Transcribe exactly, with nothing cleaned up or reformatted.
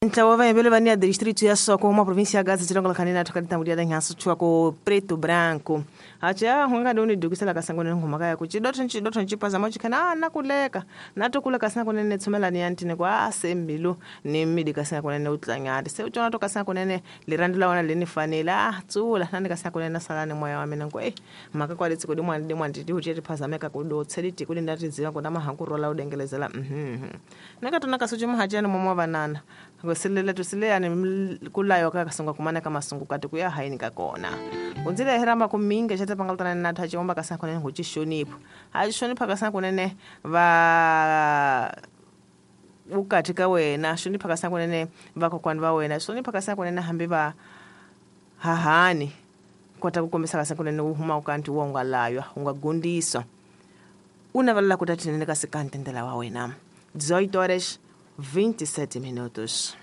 Ntlawa wa vayimbeleri va nia distrito ya Soko uma província ya Gaza tshilongo lakhanina thakati ya danyanso chua ko preto branco acha hunga doni dukisela kasangone ngoma ya kuchidotho nchidotho nchipaza mochikhana na kuleka na tokuleka sina kunene tsomela ni antine kwa asembilu ni mmidi kasina kunene utlanyati se utona to kasina kunene lirandi la wana leni fanela ah tsula nani kasina kunene salani moya wa mina ngo eh maka kwa litsi kodi mwana dimwa nditi ucheti phazameka kudotse liti kuli ndati ziwa kuna mahankurola udengelezela mhm nakatona kasuchi muhachana momwa vanana ngoselela tusileyani kulayo ka sunga kumana ka masungu kati kuya haini kakona unzile heramba kuminga chata pangaltana na thachi omba kasana kunene huchishonipho hachishonipha kasana kunene va ukati ka wena shonipha kasana kunene vakokwani va wena shonipha kasana kunene hambi va hahani kota kukombisa kasana kunene uhuma ukanti wa ungalaywa ungagundiswa unavelela kutatinene kasikantendela wa wena dezoito horas vinte e sete minutos.